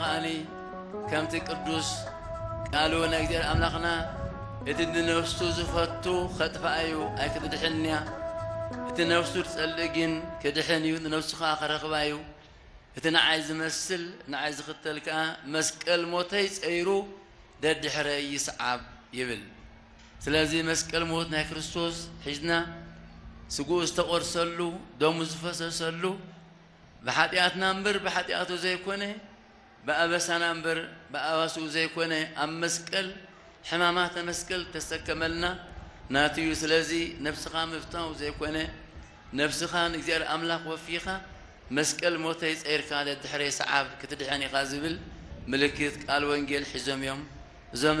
ከኣኒ ከምቲ ቅዱስ ቃሉ ናይ እግዚኣብሔር ኣምላኽና፣ እቲ ንነፍሱ ዝፈቱ ኸጥፍኣ እዩ፣ ኣይክትድሕንያ። እቲ ነፍሱ ዝጸልእ ግን ክድሕን እዩ፣ ንነፍሱ ኸኣ ኸረኽባ እዩ። እቲ ንዓይ ዝመስል ንዓይ ዝኽተል ከኣ መስቀል ሞተይ ጸይሩ ደድሕረይ ይስዓብ ይብል። ስለዚ መስቀል ሞት ናይ ክርስቶስ ሒዝና፣ ስግኡ ዝተቖርሰሉ፣ ደሙ ዝፈሰሰሉ፣ ብሓጢኣትና እምበር ብሓጢኣቱ ዘይኮነ፣ ብኣበሳና እምበር ብኣባስኡ ዘይኮነ፣ ኣብ መስቀል ሕማማተ መስቀል ተሰከመልና ናቱ እዩ። ስለዚ ነብስኻ ምፍታው ዘይኮነ፣ ነብስኻ ንእግዚኣብሔር ኣምላኽ ወፊኻ መስቀል ሞተይ ጸይርካ ደድሕረይ ሰዓብ ክትድሕን ኢኻ ዝብል ምልክት ቃል ወንጌል ሒዞም እዮም። እዞም